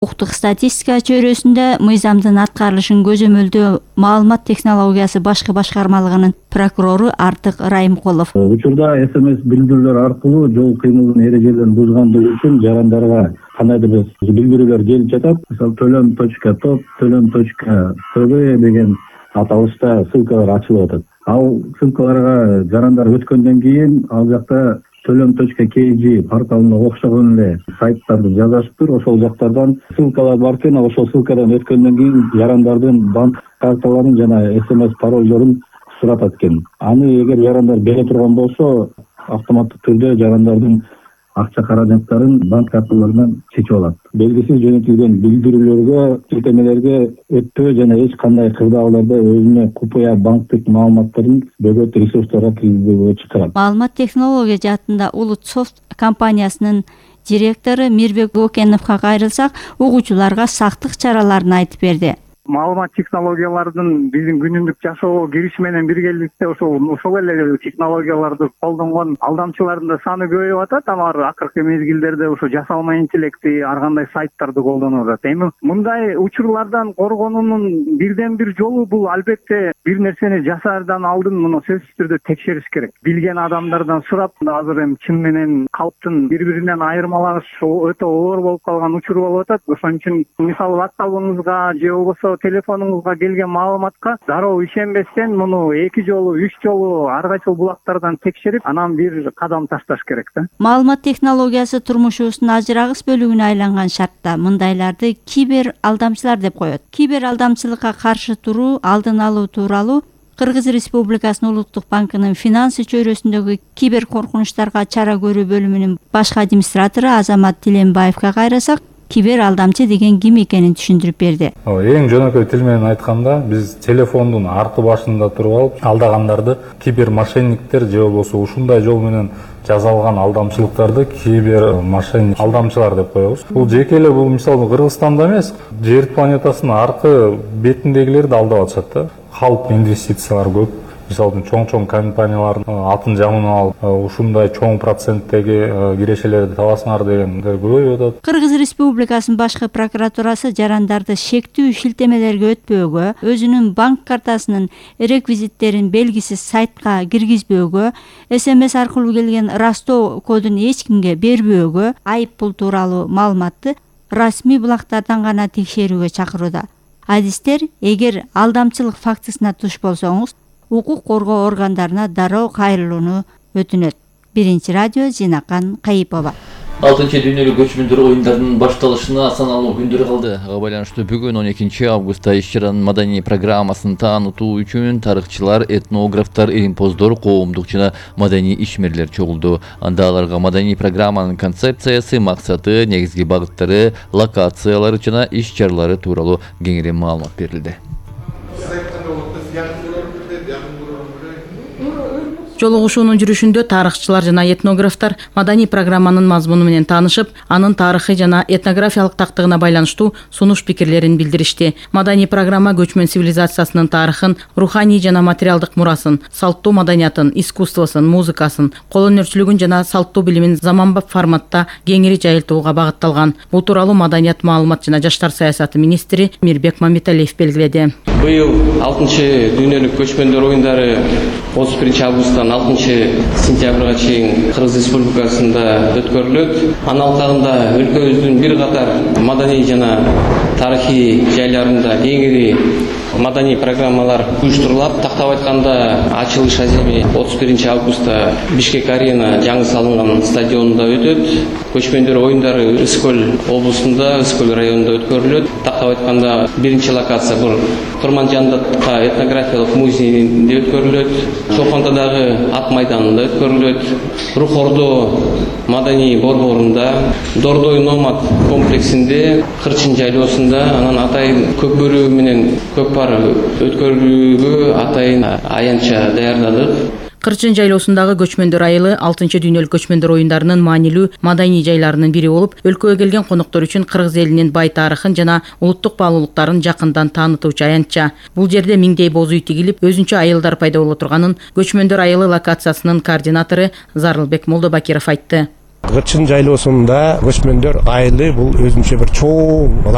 Укуктук статистика чөйрөсүндө мыйзамдын аткарылышын көзөмөлдөө маалымат технологиясы башкы башкармалыгынын прокурору Артык Райымкулов. Учурда СМС билдирүүлөр аркылуу жол кыймылынын эрежелерин бузгандыгы үчүн жарандарга кандайдыр бир билдирүүлөр келип жатат. Мисалы төлөм.топ, төлөм.тб деген аталышта ссылкалар ачылып атат. Ал ссылкаларга жарандар өткөндөн кийин ал жакта төлөм.kg порталына окшогон эле сайттарды жазышыптыр. Ошол жактардан ссылкалар бар экен, ошол ссылкадан өткөндөн кийин жарандардын банк карталарын жана СМС паролдорун суратат экен. Аны эгер жарандар бере турган болсо, автоматтык түрдө жарандардын акча каражаттарын банк карталарынан чечип алат. Белгисиз жөнөтүлгөн билдирүүлөргө, тиркемелерге өтпөө жана эч кандай кырдаалдарда өзүнө купуя банктык маалыматтарын бөгөт ресурстарга киргизбөөгө чакырат. Маалымат технология жаатында Улутсофт компаниясынын директору Мирбек Бокеновго кайрылсак, угуучуларга сактык чараларын айтып берди. Маалымат технологиялардын биздин күнүмдүк жашоого кириши менен биргеликте ошол эле технологияларды колдонгон алдамчылардын да саны көбөйүп атат. Алар акыркы мезгилдерде ошо жасалма интеллекти, ар кандай сайттарды колдонуп атат. Эми мындай учурлардан коргонуунун бирден бир жолу бул албетте бир нерсени жасаардан алдын муну сөзсүз түрдө текшериш керек. Билген адамдардан сурап, азыр эми чын менен калптын бири-биринен айырмалаш өтө оор болуп калган учур болуп атат. Ошон үчүн мисалы WhatsApp-ыңызга же болбосо телефонуңузга келген маалыматка дароо ишенбестен муну 2 жолу, 3 жолу ар кайсыл булактардан текшерип, анан бир кадам ташташ керек да. Маалымат технологиясы турмушубуздун ажырагыс бөлүгүнө айланган шартта мындайларды кибер алдамчылар деп коет. Кибер алдамчылыкка каршы туруу, алдын алуу тууралуу Кыргыз Республикасынын Улуттук банкынын финансы чөйрөсүндөгү кибер коркунучтарга чара көрүү бөлүмүнүн башкы администратору Азамат Тиленбаевга кайрасак, кибер алдамчы деген ким экенин түшүндүрүп берди. Эң жөнөкөй тил менен айтканда, биз телефондун арты башында туруп алып, алдагандарды кибер мошенниктер же болбосо ушундай жол менен жасалган алдамчылыктарды кибер мошенник алдамчылар деп коебуз. Бул жеке эле бул мисалы Кыргызстанда эмес, жер планетасынын аркы бетиндегилерди алдап атышат да. Халк инвестициялар көп. Мисалы чоң компаниялардын атын жамын алып, ушундай чоң проценттеги кирешелерди табасыңар дегендер көбөйүп атат. Кыргыз Республикасынын башкы прокуратурасы жарандарды шектүү шилтемелерге өтпөөгө, өзүнүн банк картасынын реквизиттерин белгисиз сайтка киргизбөөгө, СМС аркылуу келген растоо кодун эч кимге бербөөгө, айып пул тууралуу маалыматты расмий булактардан гана текшерүүгө чакырууда. Адистер, эгер алдамчылык фактысына туш болсоңуз, укук коргоо органдарына дароо кайрылууну өтүнөт. Биринчи радио Зинакан Кайыпова. 6-дүйнөлүк көчмөндөр оюндарынын башталышына саналуу күндөр калды. Ага байланыштуу бүгүн 12 августта иш-чаранын маданий программасын таанытуу үчүн тарыхчылар, этнографтар, илимпоздор, коомдук жана маданий ишмерлер чогулду. Анда аларга маданий программанын концепциясы, максаты, негизги багыттары, локациялары жана иш-чаралары тууралуу кеңири маалымат берилди. Жолугушуунун жүрүшүндө тарыхчылар жана этнографтар маданий программанын мазмуну менен таанышып, анын тарыхый жана этнографиялык тактыгына байланыштуу сунуш пикирлерин билдиришти. Маданий программа көчмөн цивилизациясынын тарыхын, руханий жана материалдык мурасын, салттуу маданиятын, искусствосун, музыкасын, кол өнөрчүлүгүн жана салттуу билимин заманбап форматта кеңири жайылтууга багытталган. Бул тууралуу маданият, маалымат жана жаштар саясаты министри Мирбек Мамиталиев белгиледи. Быйыл 6-дүйнөлүк көчмөндөр оюндары 31 августтан 6-сентябрга чейин Кыргыз Республикасында өткөрүлөт. Анын алкагында өлкөбүздүн бир катар маданий жана тарыхый жайларында кеңири маданий программалар уюштурулат. Тактап айтканда, ачылыш аземи 31 августта Бишкек арена жаңы салынган стадионунда өтөт. Көчмөндөр оюндары Ыскөл облусунда, Ыскөл районунда өткөрүлөт. Тактап айтканда, биринчи локация бул Курманжандатка этнографиялык музейинде өткөрүлөт. Чолпонтодагы ат майданында өткөрүлөт. Рухордо маданий борборунда, Дордой номад комплексинде, Кырчын жайлоосунда, анан атайын көк бөрү менен көк пар өткөрүүгө атайын аянтча даярдадык. Кырчын жайлоосундагы көчмөндөр айылы 6-дүйнөлүк көчмөндөр оюндарынын маанилүү маданий жайларынын бири болуп, өлкөгө келген коноктор үчүн Кыргыз элинин бай тарыхын жана улуттук баалуулуктарын жакындан таанытуучу аянтча. Бул жерде миңдей боз үй тигилип, өзүнчө айылдар пайда боло турганын көчмөндөр айылы локациясынын координатору Зарылбек Молдобакиров айтты. Кырчын жайлоосунда көчмөндөр айылы бул өзүнчө бир чоң